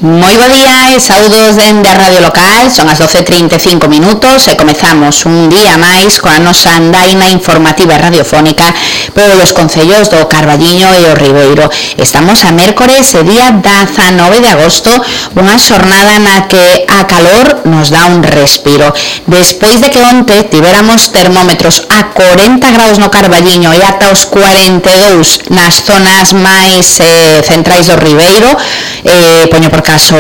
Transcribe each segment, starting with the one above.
Moi bo día e saúdos dende a Radio Local, son as 12:35 minutos e comezamos un día máis coa nosa andaina informativa radiofónica polos concellos do Carballiño e o Ribeiro. Estamos a mércores e día 19 de agosto, unha xornada na que a calor nos dá un respiro. Despois de que onte tiveramos termómetros a 40 graus no Carballiño e ata os 42 nas zonas máis centrais do Ribeiro, poño por caso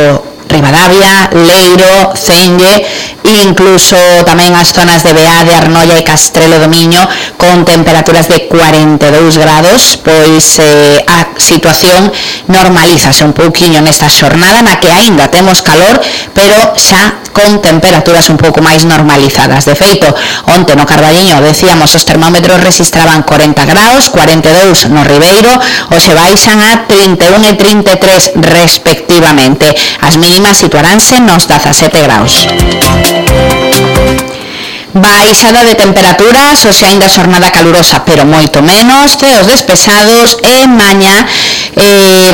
Ribadavia, Leiro, Cenge e incluso tamén as zonas de Beá, de Arnoia e Castrelo do Miño con temperaturas de 42 grados, pois a situación normalízase un pouquiño nesta xornada na que aínda temos calor, pero xa con temperaturas un pouco máis normalizadas. De feito, onte no Carballiño, decíamos, os termómetros registraban 40 graus, 42 no Ribeiro, hoxe baixan a 31 e 33 respectivamente. As mínimas situaranse nos 17 graus. Baixada de temperaturas, hoxe aínda xornada calurosa, pero moito menos, ceos despejados e mañá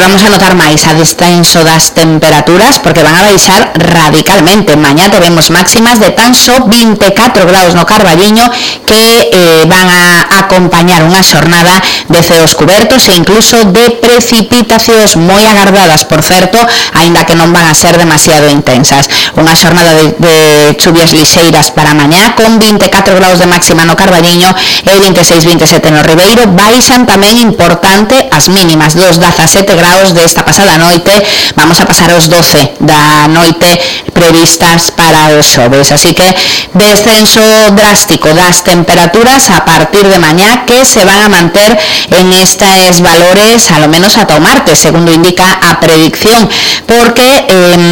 vamos a notar máis a descenso das temperaturas porque van a baixar radicalmente. Mañá teremos máximas de tan só 24 graus no Carballiño que van a acompañar unha xornada de ceos cubertos e incluso de precipitacións moi agardadas, por certo, aínda que non van a ser demasiado intensas. Unha xornada de chuvias lixeiras para mañá con 24 graus de máxima no Carballiño e 26-27 no Ribeiro. Baixan tamén importante as mínimas dos 17 graus desta pasada noite, vamos a pasar aos 12 da noite previstas para os xoves, así que descenso drástico das temperaturas a partir de mañá que se van a manter en estes valores a lo menos ata o martes, segundo indica a predicción, porque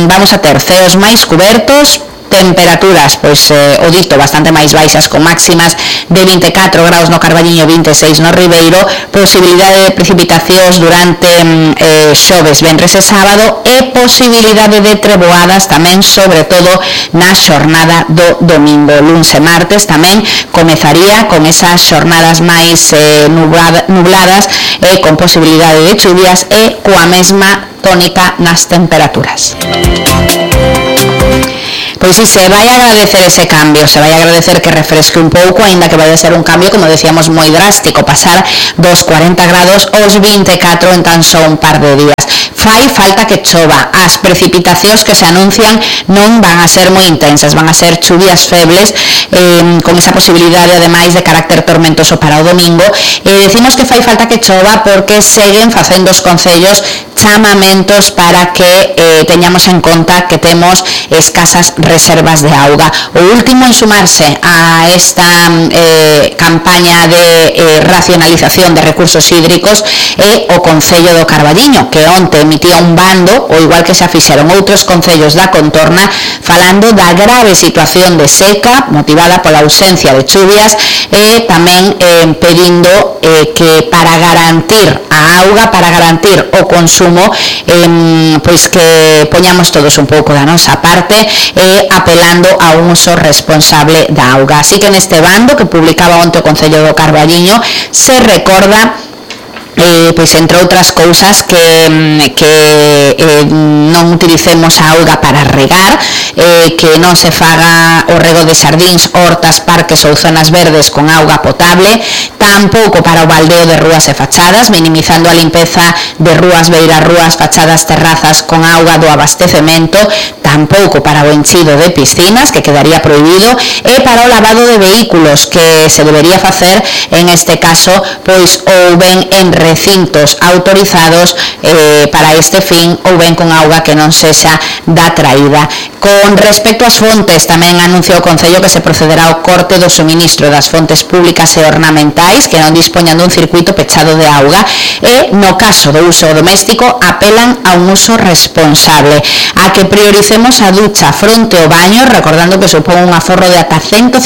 vamos a ter ceos máis cubertos, temperaturas, pois o dito, bastante máis baixas con máximas de 24 graus no Carballiño, 26 no Ribeiro, posibilidade de precipitacións durante xoves, venres e sábado e posibilidade de treboadas tamén, sobre todo na xornada do domingo. Luns e martes tamén comezaría con esas xornadas máis nubladas e con posibilidade de chuvias e coa mesma tónica nas temperaturas. Pois si, se vai agradecer ese cambio, se vai agradecer que refresque un pouco, aínda que vai a ser un cambio, como decíamos, moi drástico, pasar dos 40 grados aos 24 en tan só un par de días. Fai falta que chova, as precipitacións que se anuncian non van a ser moi intensas, van a ser chuvias febles, con esa posibilidade ademais de carácter tormentoso para o domingo, e decimos que fai falta que chova porque seguen facendo os concellos chamamentos para que teñamos en conta que temos escasas reservas de auga. O último en sumarse a esta campaña de racionalización de recursos hídricos é o Concello do Carballiño, que onte emitía un bando, o igual que xa fixeron outros concellos da contorna, falando da grave situación de seca motivada pola ausencia de chuvias e tamén pedindo que para garantir a auga, para garantir o consumo, pois que poñamos todos un pouco da nosa parte e apelando a un uso responsable da auga. Así que neste bando que publicaba onte o Concello do Carballiño se recorda pois entre outras cousas que non utilicemos a auga para regar, que non se faga o rego de xardíns, hortas, parques ou zonas verdes con auga potable, tampouco para o baldeo de rúas e fachadas, minimizando a limpeza de rúas, beirarrúas, fachadas, terrazas con auga do abastecemento, tampouco para o enchido de piscinas, que quedaría prohibido, e para o lavado de vehículos, que se debería facer, en este caso, pois ou ben en recintos autorizados para este fin ou ben con auga que non sexa da traída. Con respecto ás fontes, tamén anunciou o Concello que se procederá ao corte do suministro das fontes públicas e ornamentais que non dispoñan dun circuito pechado de auga e, no caso do uso doméstico, apelan a un uso responsable, a que prioricemos a ducha fronte ao baño, recordando que supón un aforro de ata 150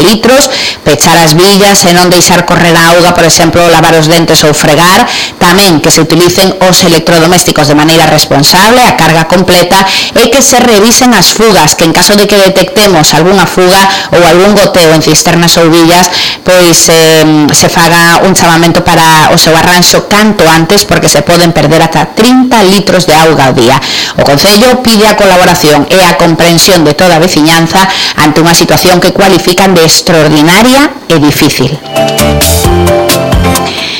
litros, pechar as billas e non deixar correr a auga, por exemplo, lavar os dentes ou fregar, tamén que se utilicen os electrodomésticos de maneira responsable, a carga completa, e que se revisen as fugas, que en caso de que detectemos algunha fuga ou algún goteo en cisternas ou billas, pois se faga un chamamento para o seu arranxo canto antes, porque se poden perder ata 30 litros de auga ao día. O Concello Concello pide a colaboración e a comprensión de toda a veciñanza ante unha situación que cualifican de extraordinaria e difícil.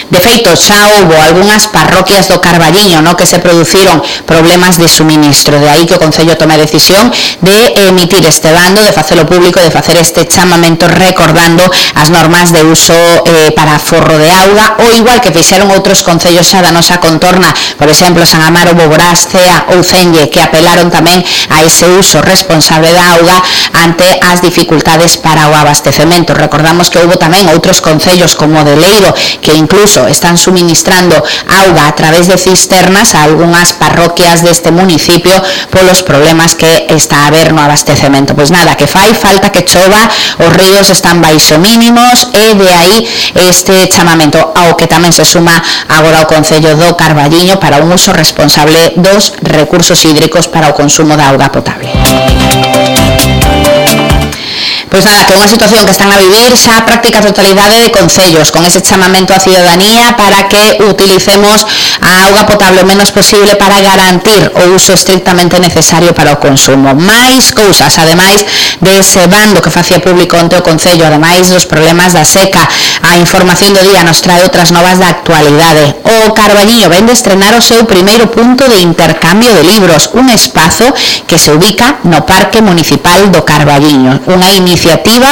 De feito, xa houbo algunhas parroquias do Carballiño que se produciron problemas de suministro, de aí que o Concello tome a decisión de emitir este bando, de facelo público, de facer este chamamento recordando as normas de uso para forro de auga, ou igual que fixeron outros concellos xa da nosa contorna, por exemplo, San Amaro, Boborás, Cea ou Celle, que apelaron tamén a ese uso responsable da auga ante as dificultades para o abastecemento. Recordamos que houbo tamén outros concellos como de Leiro, que incluso están suministrando auga a través de cisternas a algunhas parroquias deste municipio polos problemas que está a haber no abastecemento. Pois nada, que fai falta que chova, os ríos están baixo mínimos e de aí este chamamento ao que tamén se suma agora o Concello do Carballiño para un uso responsable dos recursos hídricos para o consumo da auga potable. Pois nada, que é unha situación que están a vivir xa a práctica totalidade de concellos, con ese chamamento á ciudadanía para que utilicemos a auga potable o menos posible para garantir o uso estrictamente necesario para o consumo. Mais cousas, ademais dese bando que facía público onte o Concello, ademais dos problemas da seca, a información do día nos trae outras novas da actualidade. O Carballiño vende estrenar o seu primeiro punto de intercambio de libros, un espazo que se ubica no Parque Municipal do Carballiño, unha iniciativa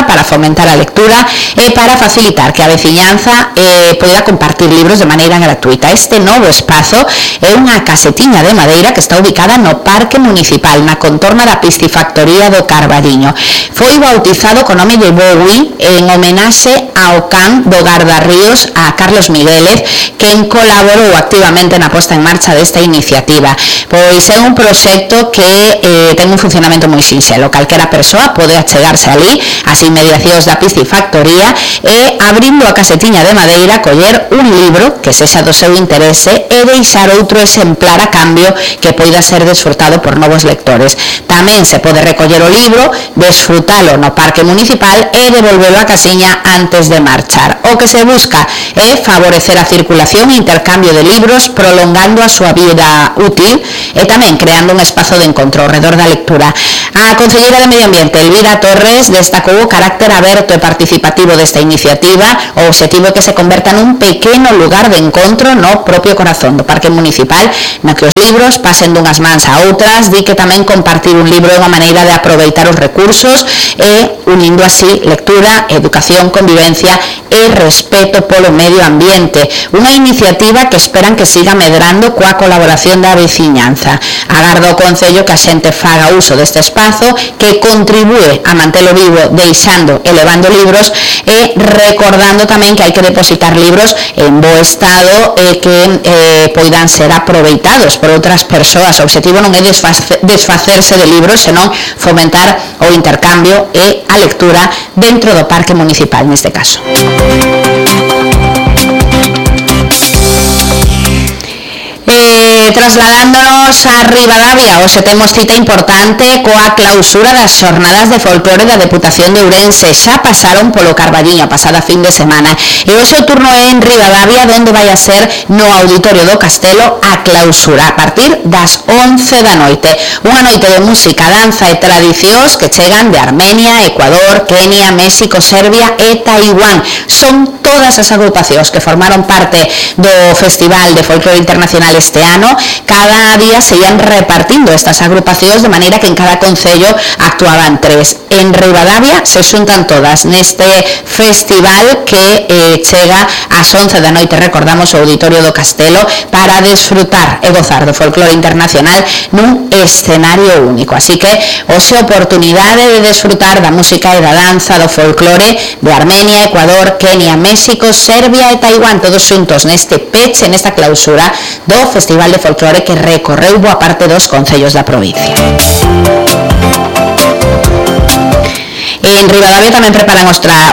para fomentar a lectura e para facilitar que a veciñanza poida compartir libros de maneira gratuita. Este novo espazo é unha casetiña de madeira que está ubicada no Parque Municipal, na contorna da piscifactoría do Carballiño. Foi bautizado co nome de Bowie en homenaxe ao can do Gardarríos, a Carlos Miguélez, quen colaborou activamente na posta en marcha desta iniciativa. Pois é un proxecto que ten un funcionamento moi sinxelo. Calquera persoa pode achegarse ali as inmediacións da piscifactoría e, abrindo a casetiña de madeira, coller un libro que sexa do seu interese e deixar outro exemplar a cambio que poida ser desfrutado por novos lectores. Tamén se pode recoller o libro, desfrutalo no Parque Municipal e devolvelo á casiña antes de marchar. O que se busca é favorecer a circulación e intercambio de libros, prolongando a súa vida útil e tamén creando un espazo de encontro ao redor da lectura. A Concelleira de Medio Ambiente, Elvira Torres, destacou o carácter aberto e participativo desta iniciativa. O obxectivo é que se converta nun pequeno lugar de encontro no propio corazón do Parque Municipal, no que os libros pasen dunhas mans a outras. Di que tamén compartir un libro é unha maneira de aproveitar os recursos e unindo así lectura, educación, convivencia e respeto polo medio ambiente. Unha iniciativa que esperan que siga medrando coa colaboración da veciñanza. Agarda o Concello que a xente faga uso deste espazo, que contribúe a mantelo vivo deixando e levando libros e recordando tamén que hai que depositar libros en bo estado e que poidan ser aproveitados por outras persoas. O obxectivo non é desfacerse de libros, senón fomentar o intercambio e a lectura dentro do Parque Municipal neste caso. Trasladándonos a Ribadavia, hoxe temos cita importante coa clausura das xornadas de folclore da Deputación de Ourense. Xa pasaron polo Carballiño a pasada fin de semana e hoxe o turno é en Ribadavia, onde vai a ser no Auditorio do Castelo a clausura a partir das 11 da noite. Unha noite de música, danza e tradicións que chegan de Armenia, Ecuador, Kenia, México, Serbia e Taiwán. Son todas as agrupacións que formaron parte do Festival de Folclore Internacional este ano. Cada día se ian repartindo estas agrupacións de maneira que en cada concello actuaban 3. En Ribadavia se xuntan todas neste festival que chega ás 11 da noite, recordamos, o Auditorio do Castelo, para desfrutar e gozar do folclore internacional nun escenario único. Así que hoxe oportunidade de desfrutar da música e da danza do folclore de Armenia, Ecuador, Kenia, México, Serbia e Taiwán, todos xuntos neste peche, nesta clausura do Festival de Folclore que recorreu boa parte dos concellos da provincia. En Ribadavia tamén preparan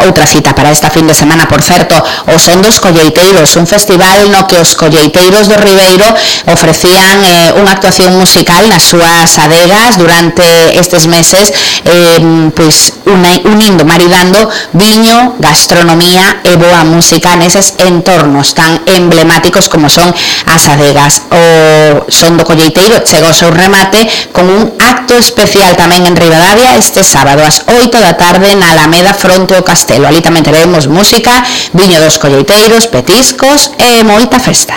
outra cita para esta fin de semana, por certo, o Son dos Colleiteiros, un festival no que os colleiteiros do Ribeiro ofrecían unha actuación musical nas súas adegas durante estes meses, pois unindo, maridando viño, gastronomía e boa música neses entornos tan emblemáticos como son as adegas. O Son do Colleiteiro chega ao seu remate con un acto especial tamén en Ribadavia este sábado ás 8 da tarde na Alameda fronte ao Castelo. Ali tamén teremos música, viño dos colleiteiros, petiscos e moita festa.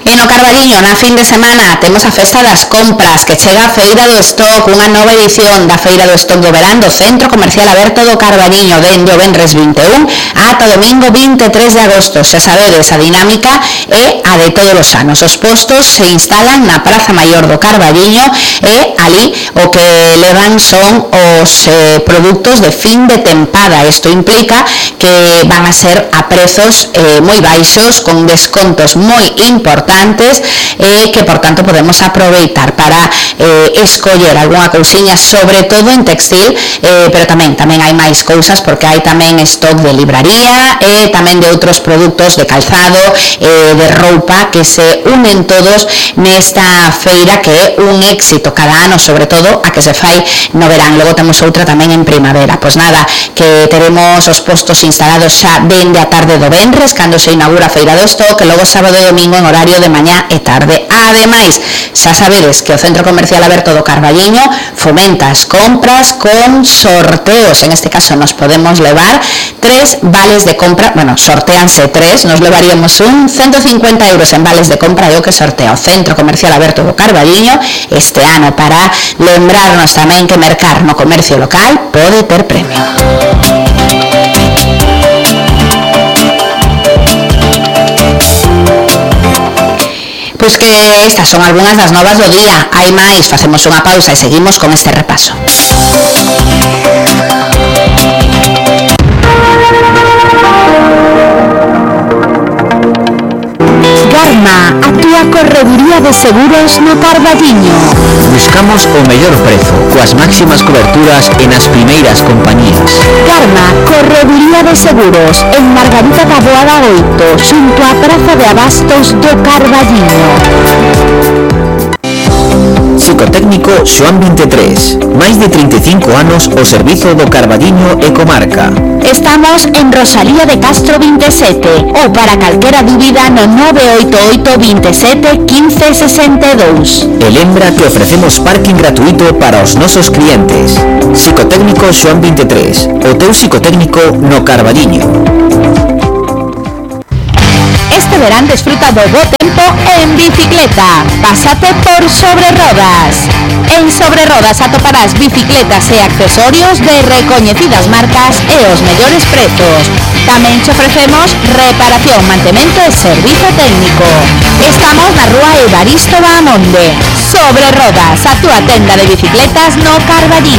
E no Carballiño, na fin de semana, temos a Festa das Compras, que chega a Feira do Stock, unha nova edición da Feira do Stock do Verán do Centro Comercial Aberto do Carballiño, dende o venres 21 ata o domingo 23 de agosto. Xa sabedes, a dinámica é a de todos os anos. Os postos se instalan na Praza Maior do Carballiño e ali o que levan son os produtos de fin de tempada. Isto implica que van a ser a prezos moi baixos, con descontos moi importantes, que por tanto podemos aproveitar para escoller algunha cousiña, sobre todo en textil, pero tamén hai máis cousas, porque hai tamén stock de libraría e tamén de outros produtos de calzado, de roupa, que se unen todos nesta feira que é un éxito cada ano, sobre todo a que se fai no verán. Logo temos outra tamén en primavera. Pois nada, que teremos os postos instalados xa dende a tarde do venres, cando se inaugura a Feira do Stock, e logo sábado e domingo en horario de mañá e tarde. Ademais, xa sabedes que o Centro Comercial Aberto do Carballiño fomenta as compras con sorteos. En este caso nos podemos levar 3 vales de compra, sorteanse 3, nos levaríamos 150 euros en vales de compra, e o que sortea o Centro Comercial Aberto do Carballiño este ano, para lembrarnos tamén que mercar no comercio local pode ter premio. Pois que estas son algunhas das novas do día. Hai máis, facemos unha pausa e seguimos con este repaso. Garma, a túa correduría de seguros no Carballiño. Buscamos o mellor prezo, coas máximas coberturas e nas primeiras compañías. Garma, correduría de seguros, en Margarita da Boada 8, xunto á Praza de Abastos do Carballiño. Psicotécnico Xoán 23, máis de 35 anos ao servizo do Carballiño e comarca. Estamos en Rosalía de Castro 27, ou para calquera dúbida no 988 27 15 62. E lembra que ofrecemos parking gratuito para os nosos clientes. Psicotécnico Xoán 23, o teu psicotécnico no Carballiño. Este verán desfruta do bo tempo en bicicleta. Pásate por Sobre Rodas. En Sobre Rodas atoparás bicicletas e accesorios de recoñecidas marcas e os mellores prezos. Tamén te ofrecemos reparación, mantemento e servizo técnico. Estamos na rúa Evaristo Bahamonde. Sobre Rodas, a túa tenda de bicicletas no Carballiño.